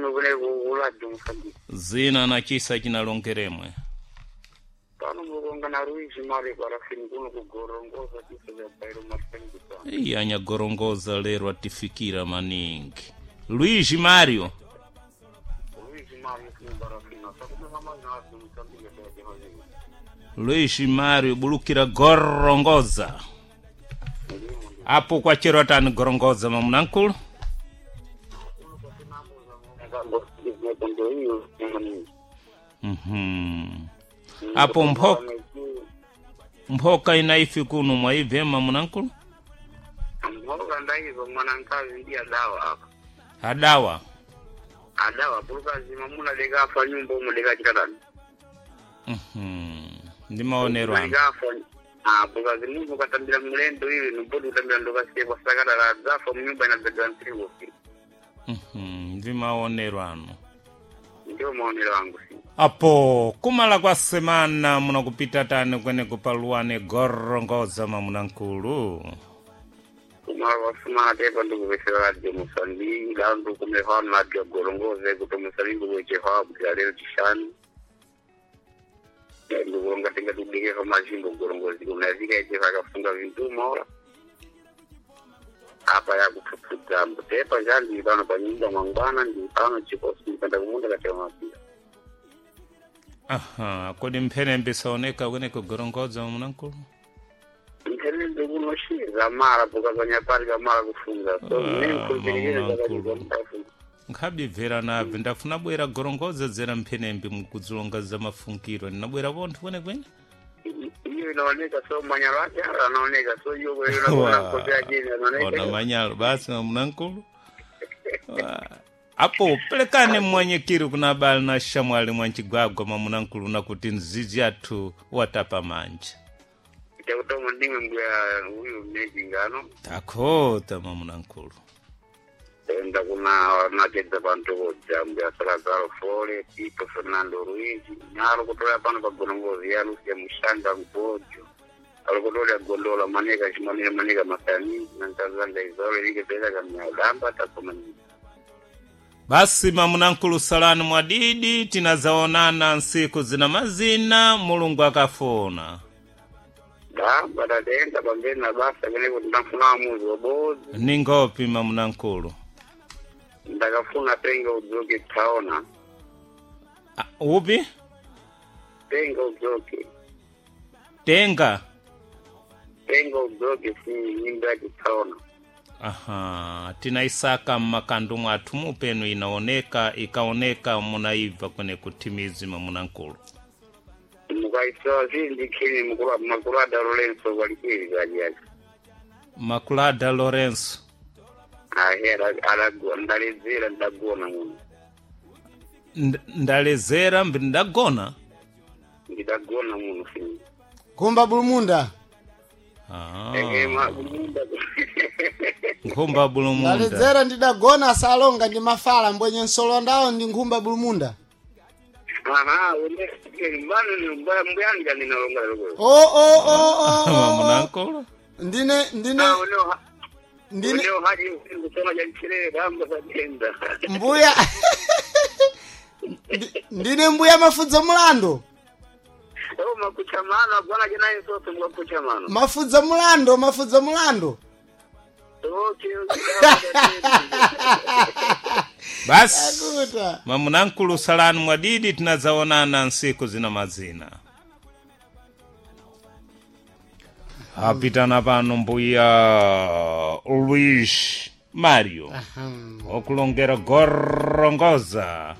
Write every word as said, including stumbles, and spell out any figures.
Ndimwe kune kuladio Mosambiki. Zina na chisa chinalongeremwe. Pano mukonga na Luigi Mari parafini kuno kugorongoza chisa cha Bairo Martin Kusana. Iya anyagorongoza lero atifikira maningi. Luigi Mario. Luigi Mari kuno parafini. Sakume kama na radio Mosambiki ya jamani. Luigi Mario bulukira gorongoza. Apo kwa chero atani gorongoza mamunankulu. Mhm. Apo mphoka mphoka inaifi kuno mwaibvema munankulu. Mhoka ndaizo mwanankazi ndi adawa apa. Adawa. Adawa pulukazi mamuna lekafa nyumba umu lekachitatani. Mhm. Ndi maonero anu. Lekafa ah bukazi munthu ukatambira mlendo iwe nobodi kutambira ndokasiye sakata la dzafa munyumba inabedwa msiwo. Mhm. Ndi maonero anu. Ndio maonero angu si. Apo kumala kwa semana munakupita tani kweneko paluwane gorongoza mamunankulu. Kumala kwafuma tepa ndikupesera radio Mosambiki lero ndikumefa radio gorongoze kuti Mosambiki kuchefa bwira lero chishanu. Ndikulonga tinga tibikefa mazimbo gorongozi kunazika ichefa akafunga vintuma ora. Apa yakupfupfudza tepa njandi pano pa nyumba mwangwana ndi pano chikosi ndipenda kumunda katewa mapira. Aha, kodi mphenembe saoneka kweneko gorongoza mamunankulu. Nthenende kunoshiza mara pokazanya pali kamara kufunga so Ah, nemkhulupirikire mamunankulu. zakachikamukafunga. Nkhabibvera nabve ndafuna bwera gorongoza dzera mphenembe mukudzilonga za mafunkiro ndinabwera pontho kwenekwene. Iyo inaoneka so manyalo ake ara anaoneka so iyo Wa, inaoneka ajini ona anaoneka. manyalo basi mamunankulu. Wa, apo pelekane mmwanyekiri kuna abale na shamwali mwanchigwagwa mamunankulu nakuti nzizi athu watapa manja. Chakutomo ndimwe mbuya huyu mnejingano Takhota mamunankulu. enda kuna nachedza pantokodza mbuya Salazar Fole Tito Fernando Ruiz nyalo kutola pano pa gorongozi ya Lucia Mushanga Mbojo alikutola gondola maneka chimanene maneka masani na nkazanga izole likepeza kamnyadamba takomanyika. Basi mamunankulu salani mwadidi tinazaonana nsiku zina mazina mulungu akafuna. Damba tatenda pambeni na basa kene kuti ndafuna amuzi wabodzi. Ningopi mamunankulu. Ndakafuna tenga udzoke taona. Ah, upi? Tenga udzoke. Tenga. Tenga udzoke si nyimba yake taona. Aha, tinaisaka mmakandu mwathu mupenu inaoneka ikaoneka munaibva kwene kutimizi mamunankulu. Mukaisowa zindi khini mukulu makulu ada Lorenzo kwalikili kaji yake. Makulada Lorenzo. Ahe ala ndaledzera ndagona muno. Nd- Ndalezera mbi ndagona. Ndidagona muno si. Kumba bulumunda. Ah. Ehe ma kumunda. Nkhumba bulumunda. Ndaledzera ndidagona salonga ndi mafala mbwenye nsolondawo ndi nkhumba bulumunda. Aha, une mbano ni mbaya mbuyani kani nalonga loko. O o o o, o. o. Mamunankulu. Ndine ndine Ah, une ndine une haji kusoma janchire damba satenda. mbuya Ndi- ndine mbuya mafudza mulando. Oh makuchamano bwana jana sote mwakuchamano. Mafudza mulando, mafudza mulando. Okay, okay. Basi Akuta. mamunankulu salani mwadidi tinazaonana nsiku zina mazina. Apitana pano mbuya Luis Mario okulongera gorongoza.